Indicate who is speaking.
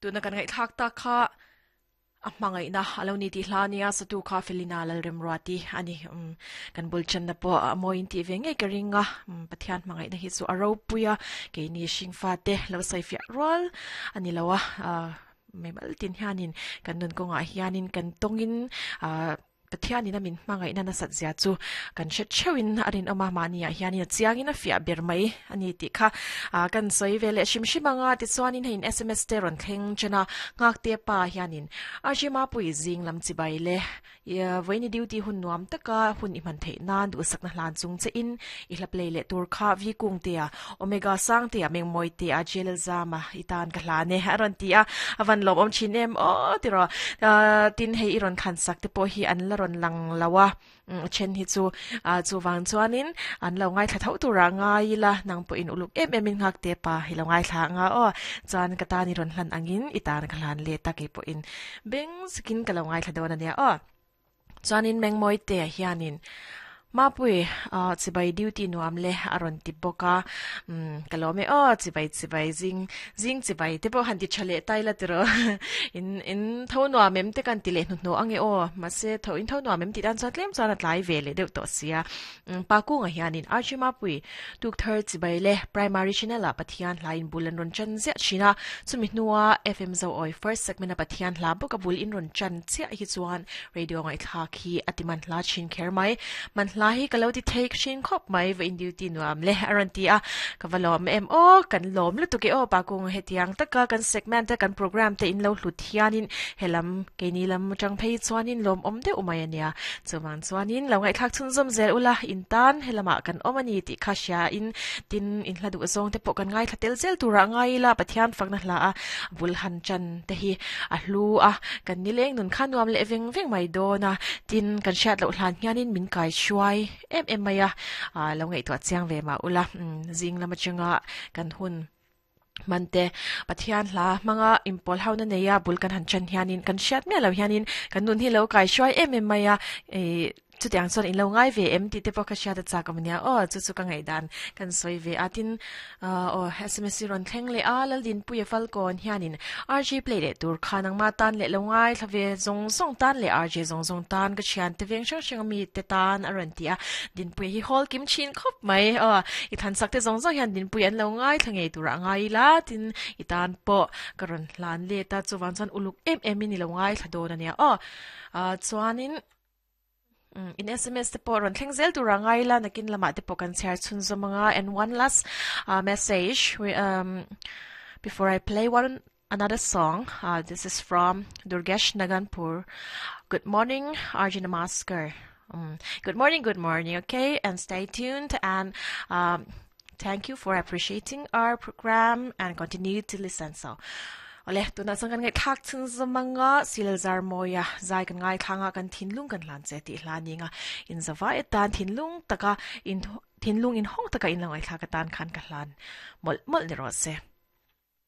Speaker 1: Tuna kan ngaihthlak tak kha a hmangaihna a lo ni tih hla ania satu kha Felina Lalremruati a ni. Um, kan bul channa pawh a mawiin tih ve ngei ka ring a, um, Pathian hmangaihna hi chu a ropui a, keini hringfa te lo sawifiah rual a ni lo a, uh, mimal tin hianin kan nun kawngah hianin kan tawngin uh, Pathianin a min hmangaihna nasat zia chu kan hre theuhin a rinawm a, mahniah hianin a chiangin a fiah ber mai a ni tih kha kan sawi ve leh hrim hrim ang a. Tichuanin heiin sms te rawn thleng chen a, Nghakte pa hianin RG Mapui zing lam chibai le vawiini duty hun nuam taka hun i hman theih nan duhsakna hlan chung che in i hla play leh tur kha V Kungtea, Omega Sangtea, Mengmawitea, JLL Zama i tan ka hlan e a rawn ti a, a van lawmawm thin em aw tiraw. Tin hei i rawn thlan sak te pawh hi an la rawn lang lo a, a then hi chu chuvang chuanin an lo ngaithla tho turah ngai ila nang pawhin uluk em em in nghak te pa i lo ngaithla anga aw. Chuan ka tan i rawn hlan angin i tan ka hlan let a keipawhin beng zikin ka lo ngaithla dawn ania aw. Chuanin Mengmawite hianin Mapui ah chibai duty nuam le a rawn ti bawk a, umm ka lawm e aw chibai chibai zing zing chibai te pawh han ti tha leh tai la tiraw in in tho nuam em te kan ti leh hnuhnawh ange aw mahse tho in tho nuam em tih tan chuan tlem chuan a tlai ve leh deuh tawh sia umm pa kungah hianin Archie Mapui Tukthar chibai le Primary Channel ah Pathian hla in bul an rawn chan ziah thin a, chumi hnua FM Zoawi First Segment a Pathian hla bawk a bul in rawn chan chiah hi chuan Radio ngaihthlak hi a ti man hla thin kher mai. Man hla hi ka lo ti thei thin khawp mai, va in duty nuam le a rawn ti a, ka va lawm em aw, kan lawm lutuk e aw pa kung hetiang taka kan segment te kan program te in lo hlut hianin helam keini lam atang phei chuanin lawmawm deuh mai a nia. Chuvang chuanin lo ngaihthlak chhunzawm zel ula in tan helamah kan awm a ni tih kha hria in tin in hla duh zawng te pawh kan ngaithla tel zel turah ngai ila Pathian fakna hla a bul han chan te hi a hlu a, kan nileng nun kha nuam leh veng veng mai dawn a, tin kan hriat loh hlan hianin min kai hruai em em mai a, ah lo ngaihtuah chiang ve mah ula, zing lam atanga kan hun hman te Pathian hla hmanga inpawl ho na nei a bul kan han chan hianin kan hriat miah loh hianin kan nun hi lo kai hruai em em mai a, ih Chutiang chuan in lo ngai ve em tih te pawh ka hriat a chak awm nia aw, chu chu ka ngaihdan kan sawi ve a, tin aw sms hi rawn thleng leh a, Laldinpuia Falkawn hianin RJ play leh tur kha nangmah tan leh lo ngaithla ve zawng zawng tan leh RJ zawng zawng tan ka thian te veng hrang hrang ami te tan a rawn ti a, Dinpuia hi hawl kim thin khawp mai aw, i thansak te zawng zawng hian Dinpuia an lo ngaithla ngei turah a ngai ila, tin i tan pawh ka rawn hlan let a, chuvang chuan uluk em em in i lo ngaithla dawn a nia aw, chuanin. In sms te pawh rawn thleng zel tur a ngai la nakin lamah te pawh kan chhiar chhunzawm anga and one last uh, message we, um, before I play one another song uh, this is from Durgesh Naganpur good morning RJ Namaskar um, good morning good morning okay and stay tuned and um, Thank you for appreciating our program and continue to listen. So, ole tuna chuan kan ngaihthlak chhun zawmanga silzar mawia zai kan ngaithlanga kan thinlung kan hlan che tih hla ninga in zavai atan thinlung taka in thinlung in hawng taka in lo ngaihthlak atan khan ka hlan mawlh mawlh ni rawh se.